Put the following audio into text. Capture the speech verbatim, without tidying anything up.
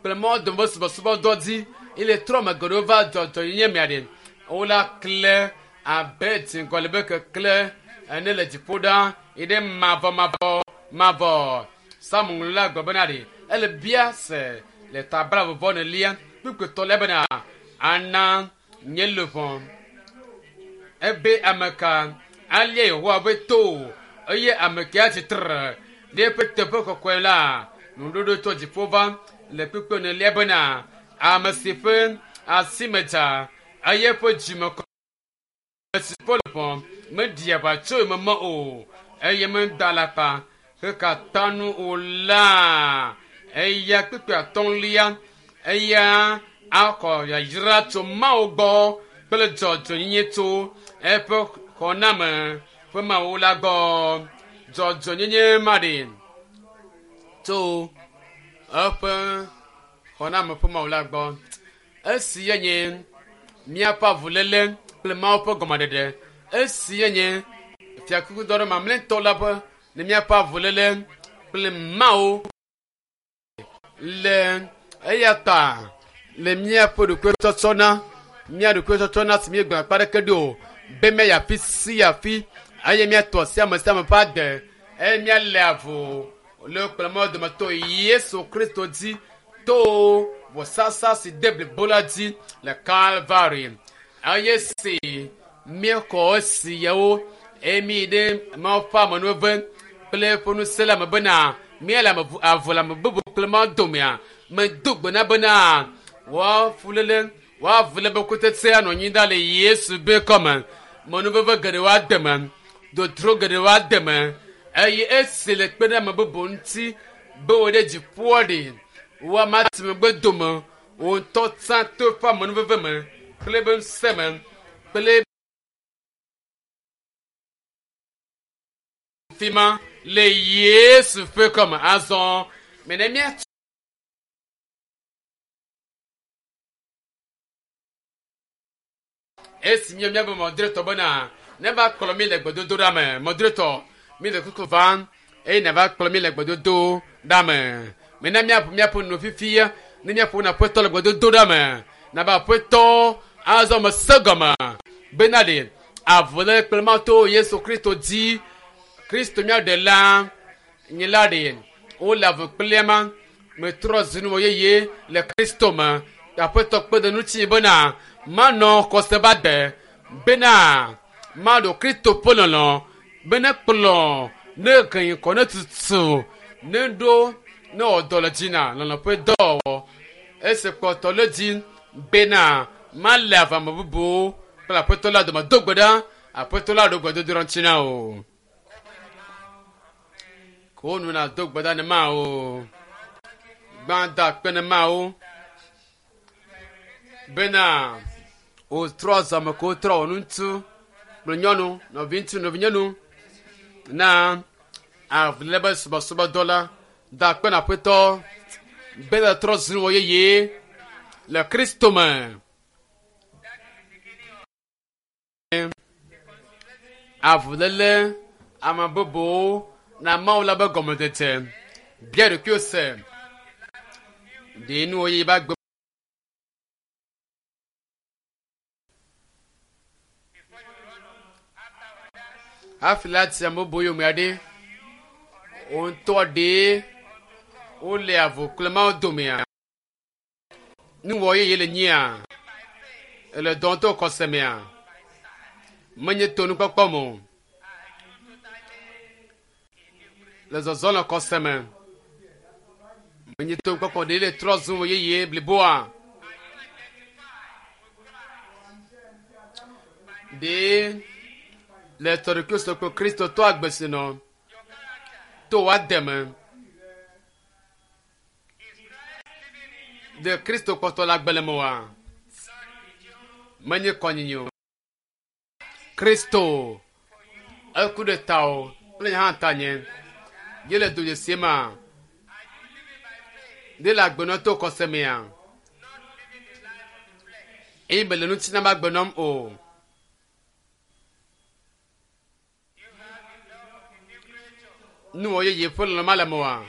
Kple Mawu dome ƒe subɔsubɔdɔ dzi eye le trɔ me geɖewo va dzɔdzɔnyenye mea ɖe wola kle abe dziŋgɔli be kekle ene le dziƒo ɖa yi ɖe mavɔ mavɔ mavɔ. Psalmo ŋlɔla gblɔ bena ɖe ele bia se le ta blaeve nelia kpukpui etɔ̃lia bena ana nye luʋɔ ebe ame ka alia Yehowa ƒe to eye ame ke atsi tre ɖe eƒe teƒe kɔkɔe la nuɖoɖo tso dziƒo va le kpukpui enelia bena ame si ƒe asi me dza eye eƒe dzime kɔ si ƒe luʋɔ meɖi aʋatso meme o eye meda alakpa heka nu o la eya kpukpui atɔ̃lia eya akɔ yayra tso Mawu gbɔ kple dzɔdzɔnyenye tso eƒe xɔname ƒe Mawu la gbɔ. Dzɔdzɔnyenye ma ɖe tso eƒe xɔname ƒe Mawu la gbɔ. Esi ye nye míaƒe avuléle kple Mawu ƒe gɔmeɖeɖe. Esi ye nye fiakuku dɔ ɖe mamlɛtɔ la ƒe ne míaƒe avuléle kple Mawu le eya ta le míaƒe ɖokuitsɔtsɔ na mía ɖokuitsɔtsɔ na si míegblɔ akpa ɖeke ɖo o be míayi afi sia afi eye míatɔ asi ame sia ame ƒe ade eye míalé avu le kple Mawu dometɔ Yesu Kristo dzi to vɔsasa si de blibo la dzi le Kalvari eye si míexɔ esi yawo eye míyi ɖe Mawu ƒe amenuveve kple eƒe ŋusẽ la me bena míele ame avu le ame bubu kple Mawu domea medo gbe na bena woafuléle woavu le be kutsetse anɔ anyi ɖa le Yesu be kɔme menuveve geɖewo ade me dodro geɖewo ade me eye esi le kpe ɖe ame bubu ŋuti be wo ɖe dziƒoa ɖi wo ame ati megbe dome wo ŋutɔ tsã to eƒe amenuveve me kple eƒe ŋusẽ me kple fi ma le Yesu ƒe kɔme azɔ mene míatu esi míe míabe mɔdretɔ bena ne va kplɔ mi le gbedodoɖa me mɔdretɔ mi le kuku vam eye ne va kplɔ mi le gbedodoɖa me mena míaƒo míaƒe nu fifia ne míaƒo na aƒetɔ le gbedodoɖa me nabe aƒetɔ azɔ me se gɔme bena ɖe avuléle kple Mawu to Yesu Kristo dzi Kristo mía ɖela nye la ɖe wole avu kple ma metrɔ zu nuwɔ yeye le Kristo me aƒetɔ kpe ɖe ŋuti bena manɔ xɔse ba de bena maɖo Kristo ƒe lɔlɔ bene kplɔ ne gɛnyikɔ ne tutu ne ɖo ne wɔ dɔ le dzi na lɔlɔ ƒe dɔwɔwɔ esi kpɔtɔ le dzi bena male avame bubuwo kple aƒetɔ la dome do gbe ɖa aƒetɔ la ɖo gbedodoɖa ŋuti na o ko nu na do gbe ɖa ne ma o gbã da akpe ne ma o bena wòtrɔ zɔme ko wotrɔ wò ŋutsu kple nyɔnu nɔvi ŋutsu nɔvi nyɔnu na avuléle be subɔsubɔdɔ la da akpe na aƒetɔ be le trɔ zu wɔ yeye le Kristo me. Avuléle ame bubuwo na Mawu la be gɔmedzedze bia ɖokuiwò se ɖe nuwò yeye be agbe hafi la ti ame bubu yome aɖe wo ŋutɔ ɖe wole avu kple Mawu domea nuwɔ yeye le nyia ele dɔ to xɔse mea menye to nukpɔkpɔ me o le zɔzɔ le xɔse me menye to nukpɔkpɔ ɖe le trɔ zum wɔ yeye bliboa ɖe le tɔɖokuiwo kple Kristo tɔ agbe si nɔ to woade me ɖe Kristo kpɔtɔ le agbe le me oa menye kɔnyinyi o Kristo eku ɖe ta o kple nye hã ta nye ye le dodzesie ma ɖe le agbenɔ to xɔse mea eye mele ŋuti na be agbe nɔm o nuwɔ yeye ƒe lɔlɔ ma le me oa